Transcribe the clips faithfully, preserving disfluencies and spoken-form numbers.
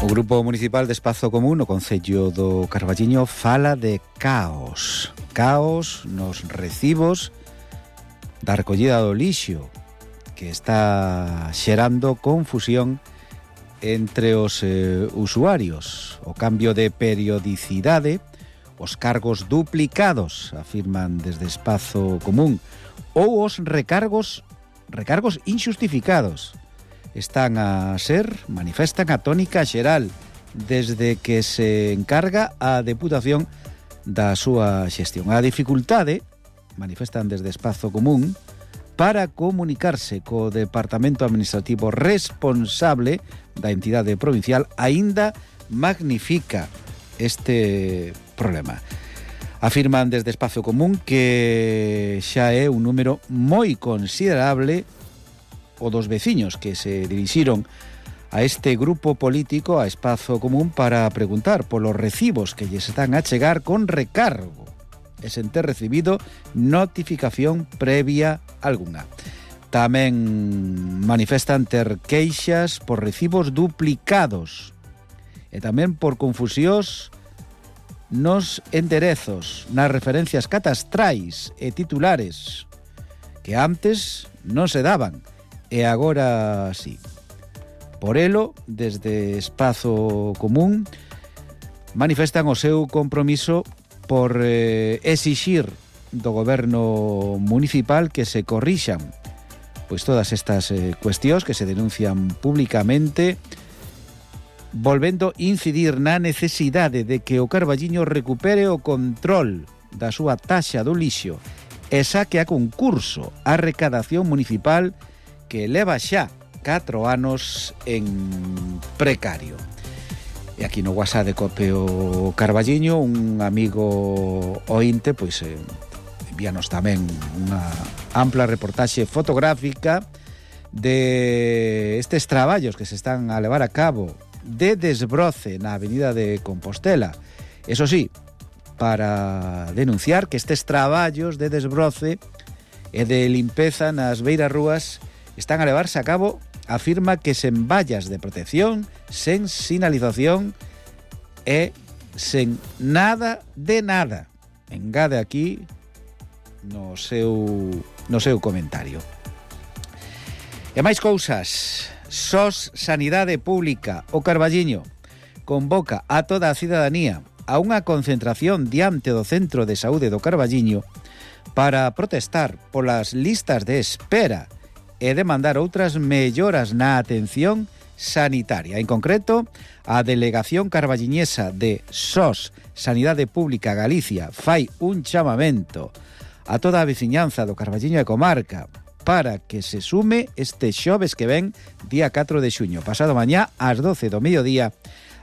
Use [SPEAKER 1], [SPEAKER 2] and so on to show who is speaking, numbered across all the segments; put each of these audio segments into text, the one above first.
[SPEAKER 1] O Grupo Municipal de Espazo Común no Concello do Carballiño fala de caos. Caos nos recibos da recollida do lixo, que está xerando confusión entre os eh, usuarios. O cambio de periodicidade, os cargos duplicados, afirman desde Espazo Común, ou os recargos, recargos inxustificados. Están a ser, manifestan a tónica xeral desde que se encarga a Deputación da súa xestión. A dificultade, manifestan desde Espazo Común, para comunicarse co Departamento Administrativo responsable da entidade provincial aínda magnifica este problema. Afirman desde Espazo Común que xa é un número moi considerable o dos veciños que se dirixiron a este grupo político, a Espazo Común, para preguntar polos recibos que lles están a chegar con recargo e sen ter recibido notificación previa algunha. Tamén manifestan ter queixas por recibos duplicados e tamén por confusións nos enderezos, nas referencias catastrais e titulares que antes non se daban e agora sí. Por elo, desde Espazo Común, manifestan o seu compromiso por eh, exixir do goberno municipal que se corrixan pois todas estas eh, cuestións que se denuncian públicamente, volvendo incidir na necesidade de que o Carballiño recupere o control da súa taxa do lixo e saque a concurso a recadación municipal que leva xa catro anos en precario. E aquí no WhatsApp de Copeo Carballiño, un amigo ointe, pois eh, envíanos tamén unha ampla reportaxe fotográfica de estes traballos que se están a levar a cabo de desbroce na avenida de Compostela. Eso sí, para denunciar que estes traballos de desbroce e de limpeza nas beiras rúas están a levarse a cabo, afirma que sen vallas de protección, sen sinalización e sen nada de nada. Engade aquí no seu, no seu comentario. E máis cousas. S O S Sanidade Pública, o Carballiño, convoca a toda a cidadanía a unha concentración diante do Centro de Saúde do Carballiño para protestar polas listas de espera e demandar outras melloras na atención sanitaria. En concreto, a Delegación Carballiñesa de S O S Sanidade Pública Galicia fai un chamamento a toda a veciñanza do Carballiño e comarca para que se sume este xoves que ven, día catro de xuño, pasado mañá ás doce do mediodía,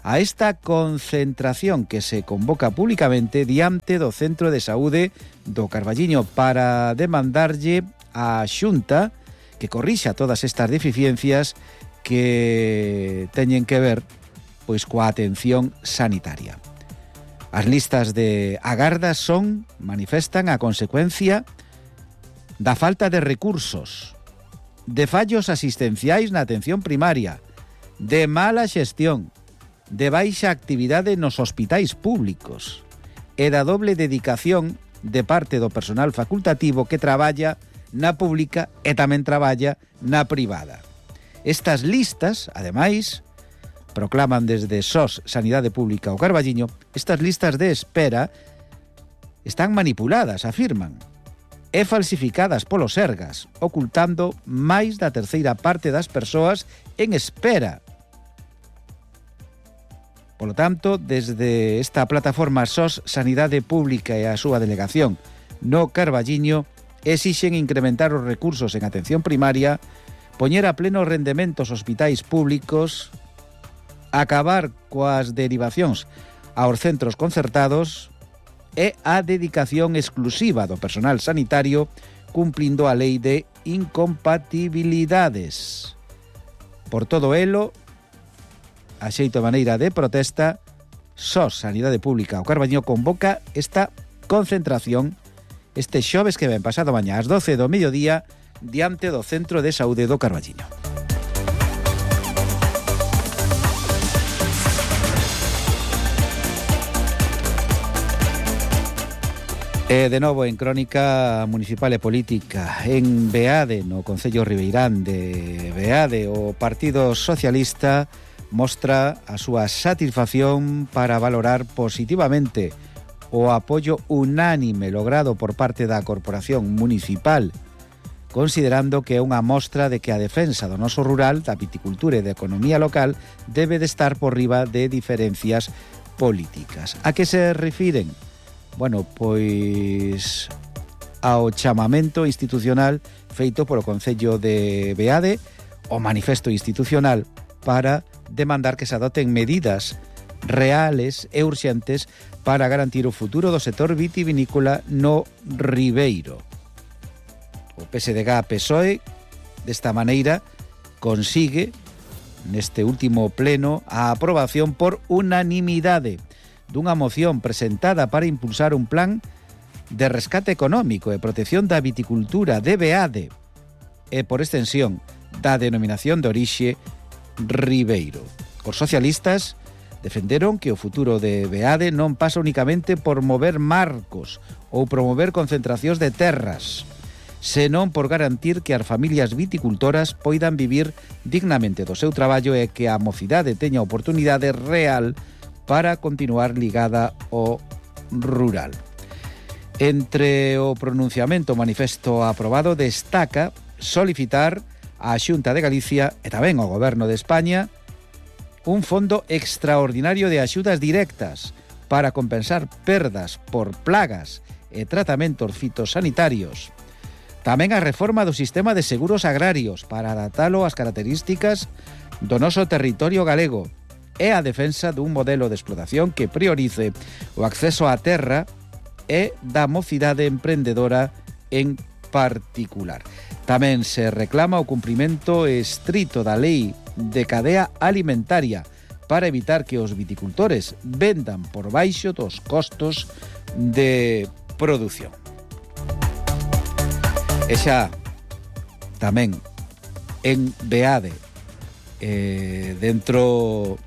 [SPEAKER 1] a esta concentración que se convoca públicamente diante do Centro de Saúde do Carballiño para demandarlle á Xunta que corrixa todas estas deficiencias que teñen que ver pois coa atención sanitaria. As listas de agarda son, manifestan, a consecuencia da falta de recursos, de fallos asistenciais na atención primaria, de mala xestión, de baixa actividade nos hospitais públicos e da doble dedicación de parte do personal facultativo que traballa na pública e tamén traballa na privada. Estas listas, ademais, proclaman desde S O S Sanidade Pública o Carballiño, estas listas de espera están manipuladas, afirman, e falsificadas polos Sergas, ocultando máis da terceira parte das persoas en espera. Polo tanto, desde esta plataforma S O S Sanidade Pública e a súa delegación no Carballiño exixen incrementar os recursos en atención primaria, poñer a pleno rendemento os hospitais públicos, acabar coas derivacións aos centros concertados e a dedicación exclusiva do personal sanitario cumplindo a lei de incompatibilidades. Por todo elo, a xeito maneira de protesta, S O S Sanidade Pública o Carballiño convoca esta concentración este xoves que ven pasado mañá ás doce do mediodía diante do Centro de Saúde do Carballiño. E de novo en Crónica Municipal e Política. En Beade, no Concello Ribeirán de Beade, o Partido Socialista mostra a súa satisfacción para valorar positivamente o apoio unánime logrado por parte da Corporación Municipal, considerando que é unha mostra de que a defensa do noso rural, da viticultura e da economía local debe de estar por riba de diferencias políticas. A que se refiren? Bueno, pois ao chamamento institucional feito polo Concello de Beade, o manifesto institucional para demandar que se adoten medidas reales e urxentes para garantir o futuro do sector vitivinícola no Ribeiro. O P S D G P S O E, desta maneira, consigue, neste último pleno, a aprobación por unanimidade dunha moción presentada para impulsar un plan de rescate económico e protección da viticultura de Beade e, por extensión, da denominación de orixe Ribeiro. Os socialistas defenderon que o futuro de Beade non pasa únicamente por mover marcos ou promover concentracións de terras, senón por garantir que as familias viticultoras poidan vivir dignamente do seu traballo e que a mocidade teña oportunidade real para continuar ligada ao rural. Entre o pronunciamento manifesto aprobado destaca solicitar á Xunta de Galicia e tamén ao Goberno de España un fondo extraordinario de axudas directas para compensar perdas por plagas e tratamentos fitosanitarios. Tamén a reforma do sistema de seguros agrarios para adaptalo ás características do noso territorio galego e a defensa dun modelo de explotación que priorice o acceso á terra e da mocidade emprendedora en particular. Tamén se reclama o cumprimento estrito da lei de cadea alimentaria para evitar que os viticultores vendan por baixo dos costos de produción. E xa tamén en Beade, eh, dentro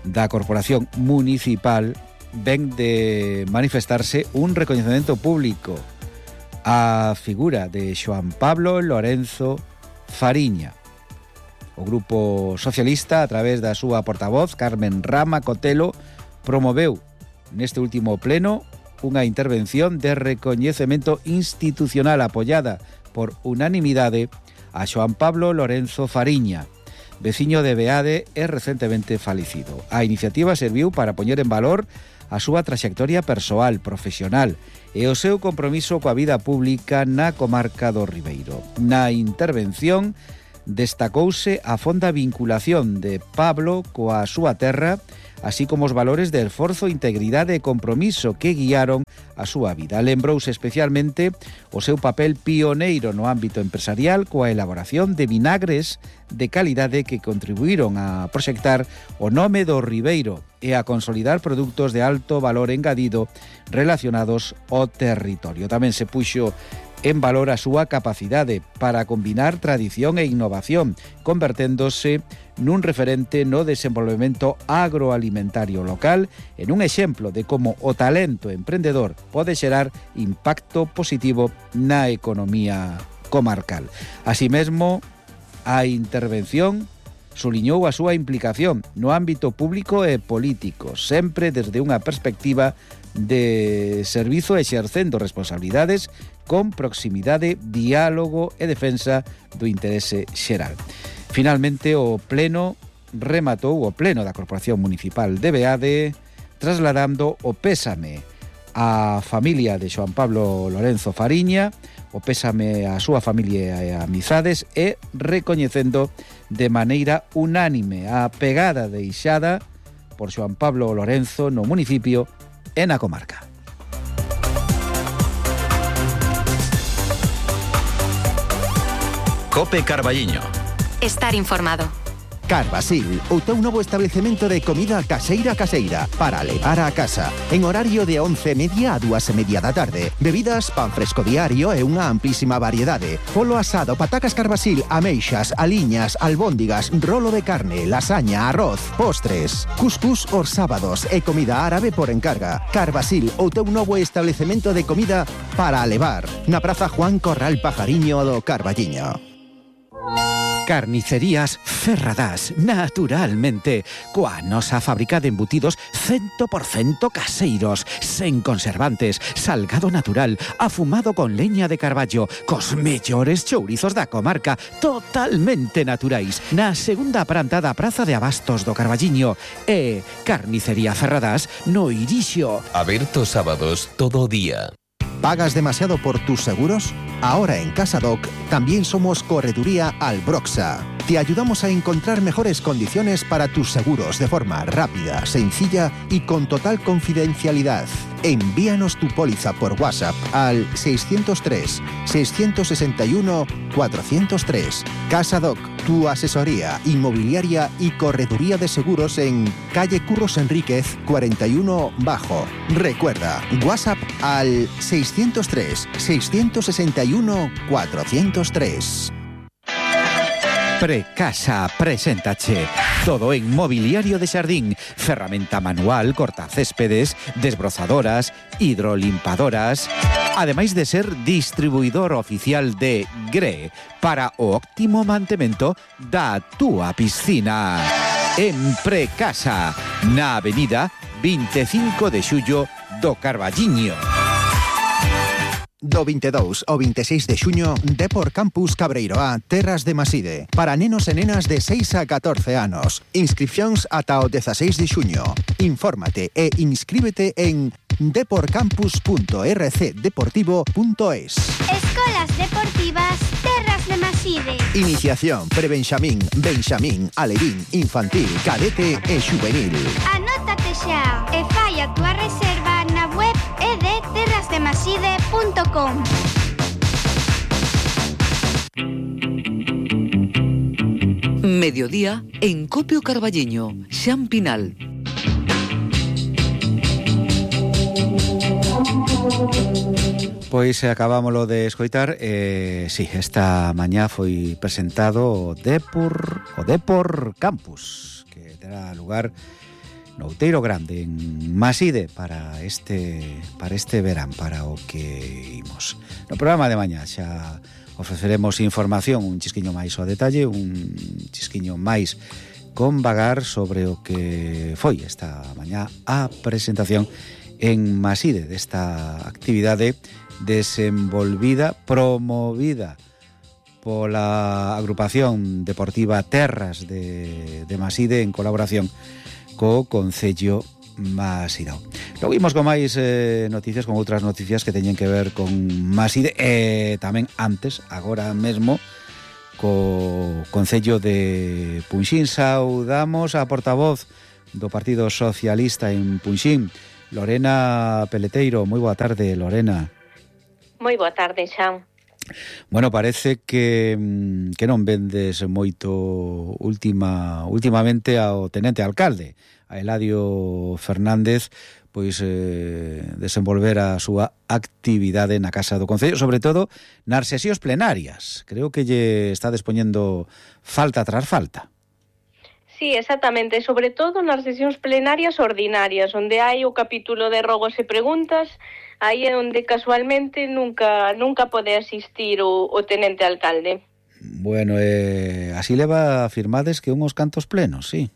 [SPEAKER 1] da Corporación Municipal, ven de manifestarse un recoñecemento público á figura de Xoán Pablo Lorenzo Fariña. O Grupo Socialista, a través da súa portavoz, Carmen Rama Cotelo, promoveu neste último pleno unha intervención de recoñecemento institucional apoiada por unanimidade a Xoán Pablo Lorenzo Fariña, veciño de Beade e recentemente falecido. A iniciativa serviu para poñer en valor a súa traxectoria persoal, profesional e o seu compromiso coa vida pública na comarca do Ribeiro. Na intervención destacouse a fonda vinculación de Pablo coa súa terra, así como os valores de esforzo, integridade e compromiso que guiaron a súa vida. Lembrouse especialmente o seu papel pioneiro no ámbito empresarial coa elaboración de vinagres de calidade que contribuíron a proxectar o nome do Ribeiro e a consolidar produtos de alto valor engadido relacionados ao territorio. Tamén se puxo en valor a súa capacidade para combinar tradición e innovación, converténdose nun referente no desenvolvemento agroalimentario local, en un exemplo de como o talento emprendedor pode xerar impacto positivo na economía comarcal. Así mesmo, a intervención suliñou a súa implicación no ámbito público e político, sempre desde unha perspectiva de servizo exercendo responsabilidades con proximidade, diálogo e defensa do interese xeral. Finalmente, o pleno rematou o pleno da Corporación Municipal de Beade trasladando o pésame á familia de Xoán Pablo Lorenzo Fariña, o pésame á súa familia e amizades e recoñecendo de maneira unánime a pegada deixada por Xoán Pablo Lorenzo no municipio e na comarca.
[SPEAKER 2] Cope Carballiño.
[SPEAKER 3] Estar informado.
[SPEAKER 2] Carvasil, o teu novo establecemento de comida caseira caseira para levar a casa. En horario de once e media a dúas e media da tarde. Bebidas, pan fresco diario e unha amplísima variedade. Polo asado, patacas Carvasil, ameixas, aliñas, albóndigas, rolo de carne, lasaña, arroz, postres. Cuscús os sábados e comida árabe por encarga. Carvasil, o teu novo establecemento de comida para levar. Na Praza Juan Corral Pajariño do Carballiño.
[SPEAKER 1] Carnicerías Ferradás, naturalmente, coa nosa fábrica de embutidos cen por cento caseiros, sen conservantes, salgado natural, afumado con leña de carballo, cos mellores chourizos da comarca, totalmente naturais, na segunda planta da Praza de Abastos do Carballiño, e Carnicería Ferradás no Irixo.
[SPEAKER 3] Aberto sábados todo o día.
[SPEAKER 2] ¿Pagas demasiado por tus seguros? Ahora en Casadoc también somos Correduría Albroxa. Te ayudamos a encontrar mejores condiciones para tus seguros de forma rápida, sencilla y con total confidencialidad. Envíanos tu póliza por WhatsApp al seiscientos tres, seiscientos sesenta y uno, cuatrocientos tres. Casadoc, tu asesoría inmobiliaria y correduría de seguros en calle Curros Enríquez cuarenta y uno Bajo. Recuerda, WhatsApp al seiscientos tres, seiscientos sesenta y uno, cuatrocientos tres.
[SPEAKER 1] Precasa preséntache todo en mobiliario de xardín, ferramenta manual, cortacéspedes, desbrozadoras, hidrolimpadoras, ademais de ser distribuidor oficial de Gre para o óptimo mantemento da túa piscina. En Precasa, na avenida veinticinco de xullo do Carballiño.
[SPEAKER 2] Do veintidós ao veintiséis de xuño, Depor Campus Cabreiroá, Terras de Maside. Para nenos e nenas de seis a catorce anos. Inscripcións ata o dezasseis de xuño. Infórmate e inscríbete en deporcampus punto r c deportivo punto es.
[SPEAKER 4] Escolas Deportivas Terras de Maside.
[SPEAKER 2] Iniciación, prebenxamín, benxamín, alevín, infantil, cadete e xuvenil.
[SPEAKER 4] Anótate xa e fai a túa reserva na web e de terras de maside punto com.
[SPEAKER 5] Mediodía en Copio Carballiño, Xan Pinal.
[SPEAKER 1] Pois acabámoslo de escoitar, eh, sí, esta mañá foi presentado o Depor, o Depor Campus, que terá lugar no Outeiro Grande, en Maside, para este para este verán, para o que imos. No programa de mañá xa ofreceremos información, un chisquiño máis ao detalle, un chisquiño máis con vagar sobre o que foi esta mañá a presentación en Maside desta actividade desenvolvida, promovida pola agrupación deportiva Terras de, de Maside en colaboración co Concello Masirao. Logo imos con máis eh, noticias, con outras noticias que teñen que ver con Maside e eh, tamén antes, agora mesmo, co Concello de Punxín. Saudamos a portavoz do Partido Socialista en Punxín, Lorena Peleteiro. Moi boa tarde, Lorena.
[SPEAKER 6] Moi boa tarde, Xan.
[SPEAKER 1] Bueno, parece que, que non vendes moito última, últimamente ao tenente alcalde, a Eladio Fernández, pois eh, desenvolver a súa actividade na Casa do Concello, sobre todo nas sesións plenarias. Creo que lle está dispoñendo falta tras falta.
[SPEAKER 6] Sí, exactamente, sobre todo nas sesións plenarias ordinarias, onde hai o capítulo de rogos e preguntas, aí é onde casualmente nunca nunca pode asistir o, o tenente alcalde.
[SPEAKER 1] Bueno, eh, así leva firmades que unhos cantos plenos, sí.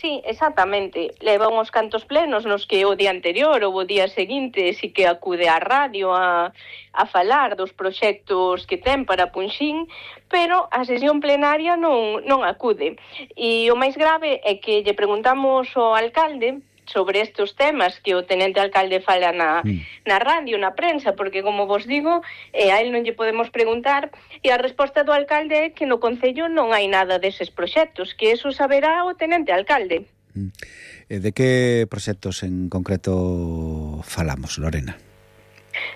[SPEAKER 6] Sí, exactamente. Leva uns cantos plenos nos que o día anterior ou o día seguinte sí que acude á radio a, a falar dos proxectos que ten para Punxín, pero a sesión plenaria non, non acude. E o máis grave é que lle preguntamos ao alcalde sobre estes temas que o tenente alcalde fala na, mm. na radio, na prensa, porque, como vos digo, eh, a él non lle podemos preguntar, e a resposta do alcalde é que no Concello non hai nada deses proxectos, que eso saberá o tenente alcalde.
[SPEAKER 1] Mm. De que proxectos en concreto falamos, Lorena?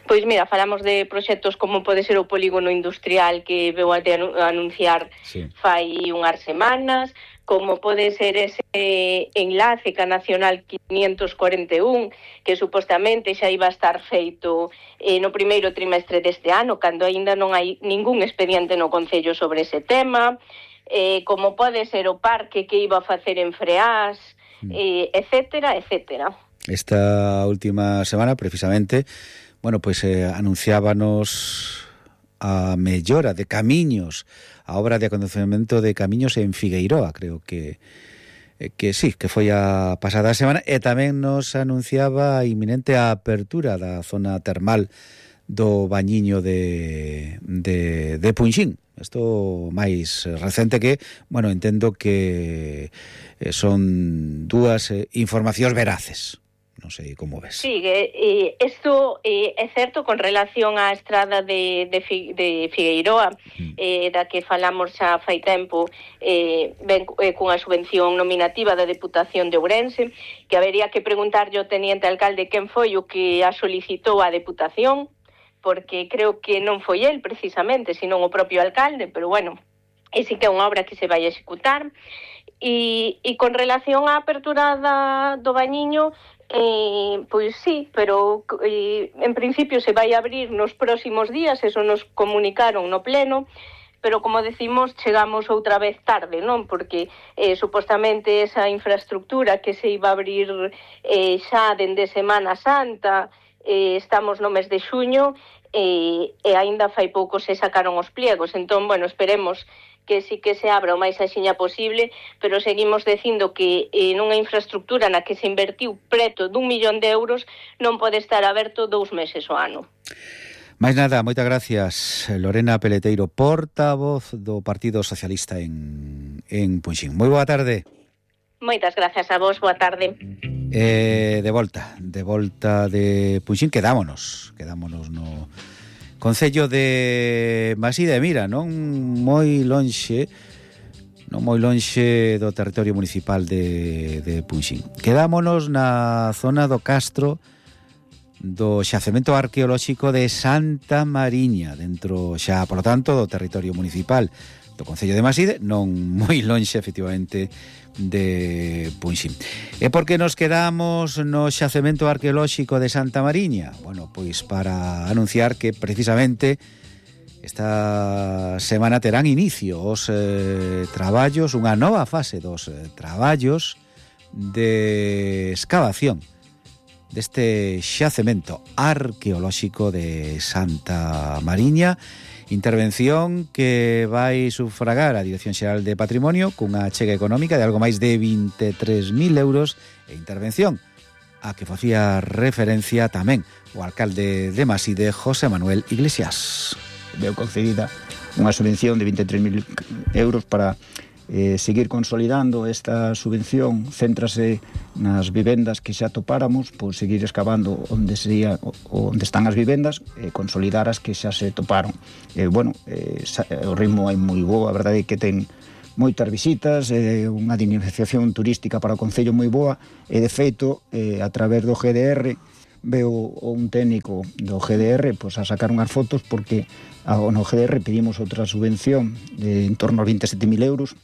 [SPEAKER 6] Pois mira, falamos de proxectos como pode ser o polígono industrial que veu a anunciar sí. fai unhas semanas, como pode ser ese enlace ca Nacional quinientos cuarenta e un, que supostamente xa iba a estar feito eh, no primeiro trimestre deste ano, cando aínda non hai ningún expediente no Concello sobre ese tema, eh, como pode ser o parque que iba a facer en Freás, eh, etcétera, etcétera.
[SPEAKER 1] Esta última semana, precisamente, bueno, pues eh, anunciábanos a mellora de camiños, a obra de acondicionamento de camiños en Figueiroa, creo que eh, que sí, que foi a pasada semana, e tamén nos anunciaba a inminente apertura da zona termal do Bañiño de, de, de Punxín. Isto máis recente que, bueno, entendo que eh, son dúas eh, informacións veraces. Non sei como ves.
[SPEAKER 6] Sí, eh, isto eh, é certo con relación á estrada de, de, de Figueiroa, mm. eh, da que falamos xa fai tempo, eh, ben eh, cunha subvención nominativa da Deputación de Ourense, que habería que preguntarlle ao teniente alcalde quen foi o que a solicitou a Deputación, porque creo que non foi el precisamente, senón o propio alcalde, pero bueno, é sí que é unha obra que se vai a executar. E, e con relación á apertura da, do Bañiño, Eh, pois sí, pero eh, en principio se vai abrir nos próximos días, eso nos comunicaron no pleno, pero como decimos, chegamos outra vez tarde, non? Porque eh, supostamente esa infraestructura que se iba a abrir eh, xa dende Semana Santa, eh, estamos no mes de xuño, eh, e aínda fai pouco se sacaron os pliegos, entón, bueno, esperemos que sí que se abra o máis axiña posible, pero seguimos dicindo que eh, nunha infraestructura na que se invertiu preto dun millón de euros non pode estar aberto dous meses o ano.
[SPEAKER 1] Máis nada, moitas gracias, Lorena Peleteiro, portavoz do Partido Socialista en, en Punxín. Moi boa tarde.
[SPEAKER 6] Moitas gracias a vos, boa tarde.
[SPEAKER 1] Eh, de volta, de volta de Punxín, quedámonos, quedámonos no Concello de Maside de Mira, non moi lonxe, non moi lonxe do territorio municipal de, de Punxín. Quedámonos na zona do Castro do xacemento arqueolóxico de Santa Mariña, dentro xa, por lo tanto, do territorio municipal do Concello de Maside, non moi lonxe, efectivamente, de Punxín. E por que nos quedamos no xacemento arqueolóxico de Santa Mariña? Bueno, pois para anunciar que precisamente esta semana terán inicio os eh, traballos, unha nova fase dos eh, traballos de excavación deste xacemento arqueolóxico de Santa Mariña. Intervención que vai sufragar a Dirección Xeral de Patrimonio cunha achega económica de algo máis de vinte e tres mil euros, e intervención a que facía referencia tamén o alcalde de Maside, José Manuel Iglesias.
[SPEAKER 7] Veo concedida unha subvención de vinte e tres mil euros para eh, seguir consolidando esta subvención. Céntrase nas vivendas que xa topáramos, por seguir excavando onde sería, onde están as vivendas, e consolidar as que xa se toparon. Eh, bueno, eh, o ritmo é moi bo, a verdade é que ten moitas visitas, eh, unha dinamización turística para o Concello moi boa, e de feito, eh, a través do G D R, veo un técnico do G D R pois, a sacar unhas fotos, porque ao, no G D R pedimos outra subvención de en torno aos vinte e sete mil euros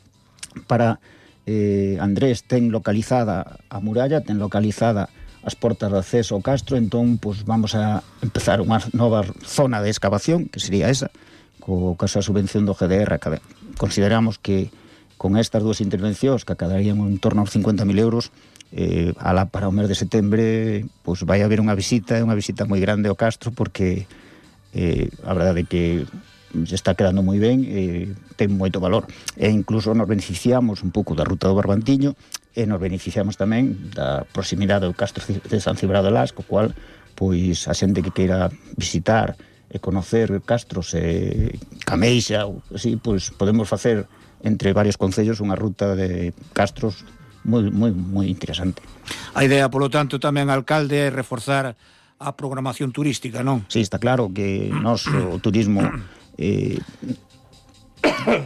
[SPEAKER 7] para eh, Andrés ten localizada a muralla, ten localizada as portas de acceso ao castro, entón pois, vamos a empezar unha nova zona de excavación, que sería esa, co caso da subvención do G D R. Consideramos que con estas dúas intervencións, que acadarían en torno aos cincuenta mil euros, eh, ala para o mes de setembro, pois vai haber unha visita, unha visita moi grande ao castro, porque eh, a verdade é que se está quedando moi ben, e ten moito valor, e incluso nos beneficiamos un pouco da ruta do Barbantiño, e nos beneficiamos tamén da proximidade do castro de San Cibrao de Las, co cual, pois, a xente que queira visitar e conocer castros e Cameixa, ou así, pois, podemos facer entre varios concellos unha ruta de castros moi, moi, moi interesante.
[SPEAKER 8] A idea, polo tanto, tamén, alcalde, é reforzar a programación turística, non?
[SPEAKER 7] Sí, está claro que nós, o turismo, eh,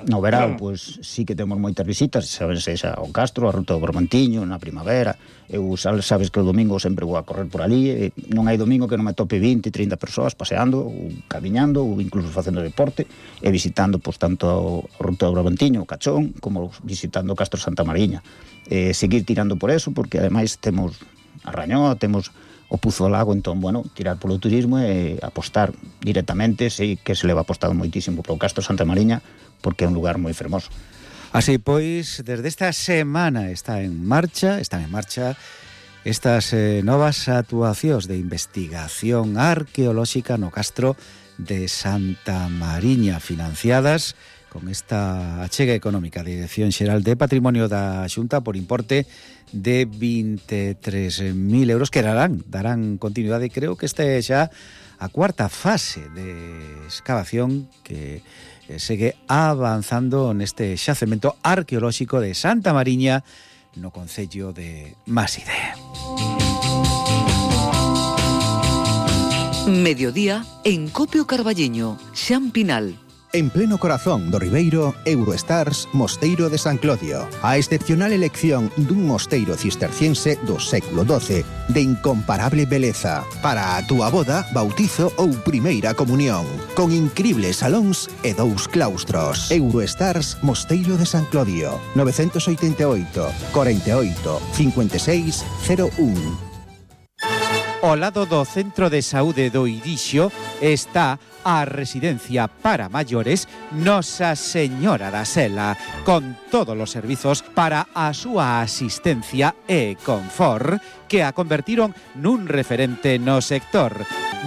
[SPEAKER 7] No verao, pois, sí que temos moitas visitas, sabes, xa ao Castro, a Ruta do Bermantiño, na primavera. Eu, sabes que o domingo sempre vou a correr por ali, e non hai domingo que non me tope vinte, trinta persoas paseando, ou camiñando, ou incluso facendo deporte, e visitando, pois, tanto a Ruta do Bermantiño, o Cachón, como visitando o Castro Santa Mariña. Eh, seguir tirando por eso, porque ademais temos a Rañoa, temos o Puzo do Lago, entón, bueno, tirar polo turismo e apostar directamente, sei que se leva apostado moitísimo polo Castro Santa Mariña, porque é un lugar moi fermoso.
[SPEAKER 1] Así pois, desde esta semana está en marcha, están en marcha estas eh, novas actuacións de investigación arqueolóxica no Castro de Santa Mariña, financiadas con esta achega económica de Dirección Xeral de Patrimonio da Xunta por importe de vinte e tres mil euros que darán, darán continuidade. Creo que esta é xa a cuarta fase de excavación que segue avanzando neste xacemento arqueolóxico de Santa Mariña no concello de Maside.
[SPEAKER 5] Mediodía en Copio Carballiño, Xan Pinal.
[SPEAKER 2] En pleno corazón do Ribeiro, Eurostars, Mosteiro de San Clodio. A excepcional elección dun mosteiro cisterciense do século doce, de incomparable beleza, para a túa boda, bautizo ou primeira comunión, con incribles salóns e dous claustros. Eurostars, Mosteiro de San Clodio, nove oito oito, cuarenta y ocho, cincuenta y seis, cero uno.
[SPEAKER 1] Ao lado do Centro de Saúde do Irixo está a residencia para maiores Nosa Señora da Sela, con todos os servizos para a súa asistencia e confort, que a convertiron nun referente no sector.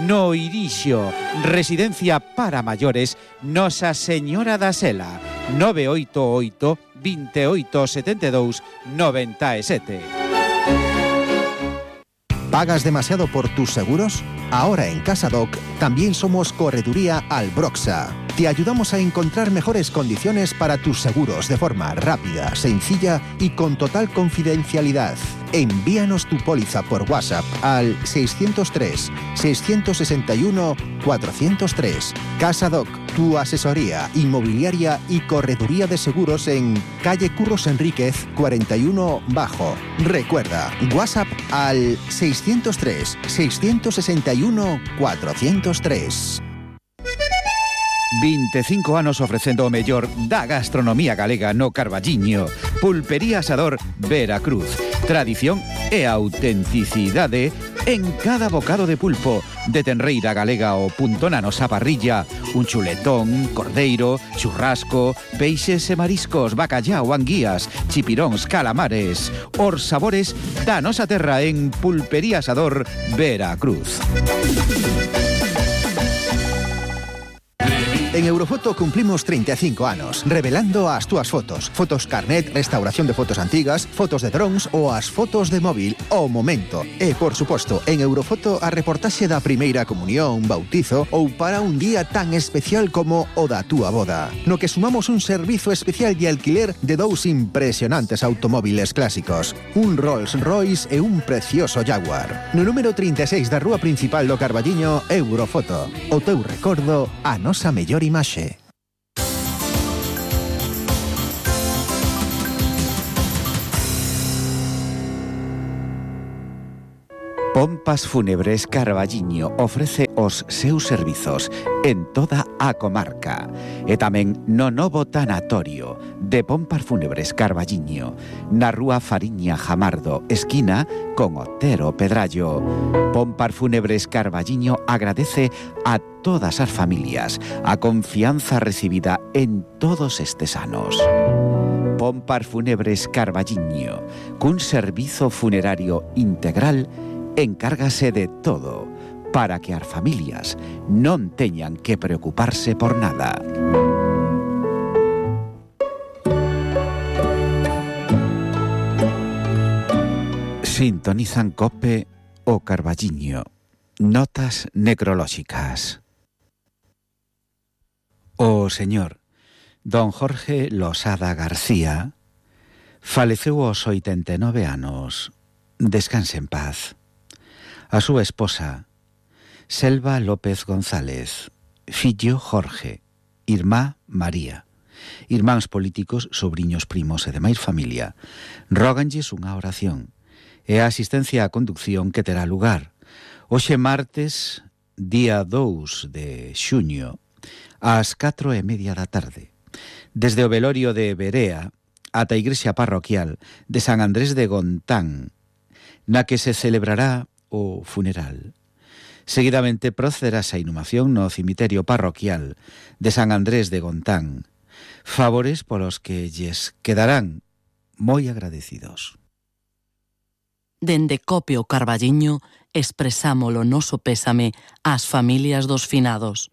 [SPEAKER 1] No Irixo, residencia para maiores Nosa Señora da Sela, nove oito oito, veintiocho setenta y dos, noventa y siete.
[SPEAKER 2] ¿Pagas demasiado por tus seguros? Ahora en CasaDoc también somos Correduría Albroxa. Te ayudamos a encontrar mejores condiciones para tus seguros de forma rápida, sencilla y con total confidencialidad. Envíanos tu póliza por WhatsApp al seiscientos tres, seiscientos sesenta y uno, cuatrocientos tres. CasaDoc, tu asesoría inmobiliaria y correduría de seguros en calle Curros Enríquez cuarenta y uno Bajo. Recuerda, WhatsApp al seiscientos tres, seiscientos sesenta y uno, cuatrocientos tres.
[SPEAKER 1] vinte e cinco anos ofrecendo o mellor da gastronomía galega no Carballiño. Pulpería Asador Veracruz. Tradición e autenticidade en cada bocado de pulpo, de tenreira galega ao punto na nosa parrilla, un chuletón, cordeiro, churrasco, peixes e mariscos, bacallao, anguías, chipiróns, calamares, os sabores da nosa terra en Pulpería Asador Veracruz.
[SPEAKER 2] En Eurofoto cumplimos treinta y cinco anos, revelando as túas fotos. Fotos carnet, restauración de fotos antigas, fotos de drones ou as fotos de móvil ao momento. E, por suposto, en Eurofoto a reportaxe da primeira comunión, bautizo ou para un día tan especial como o da túa boda. No que sumamos un servizo especial de alquiler de dous impresionantes automóviles clásicos. Un Rolls Royce e un precioso Jaguar. No número treinta y seis da rúa principal do Carballiño, Eurofoto. O teu recordo, a nosa mellor imaxe.
[SPEAKER 1] Pompas Fúnebres Carballiño ofrece os seus servizos en toda a comarca e tamén no novo tanatorio de Pompas Fúnebres Carballiño, na rúa Fariña Jamardo, esquina con Otero Pedrallo. Pompas Fúnebres Carballiño agradece a todas as familias a confianza recibida en todos estes anos. Pompas Fúnebres Carballiño, cun servizo funerario integral, encárgase de todo para que as familias non teñan que preocuparse por nada. Sintonizan Cope o Carballiño. Notas necrolóxicas. O señor don Jorge Losada García faleceu aos oitenta e nove anos. Descanse en paz. A súa esposa, Selva López González, fillo Jorge, irmá María, Irmáns políticos, sobriños, primos e demais familia róganlles unha oración e a asistencia á conducción que terá lugar hoxe martes, día dous de xuño, ás catro e media da tarde, desde o velorio de Berea ata a igrexa parroquial de San Andrés de Gontán, na que se celebrará o funeral. Seguidamente procederase a inhumación no cemiterio parroquial de San Andrés de Gontán, favores polos que lles quedarán moi agradecidos.
[SPEAKER 9] Dende Copio Carballiño expresamos o noso pésame ás familias dos finados.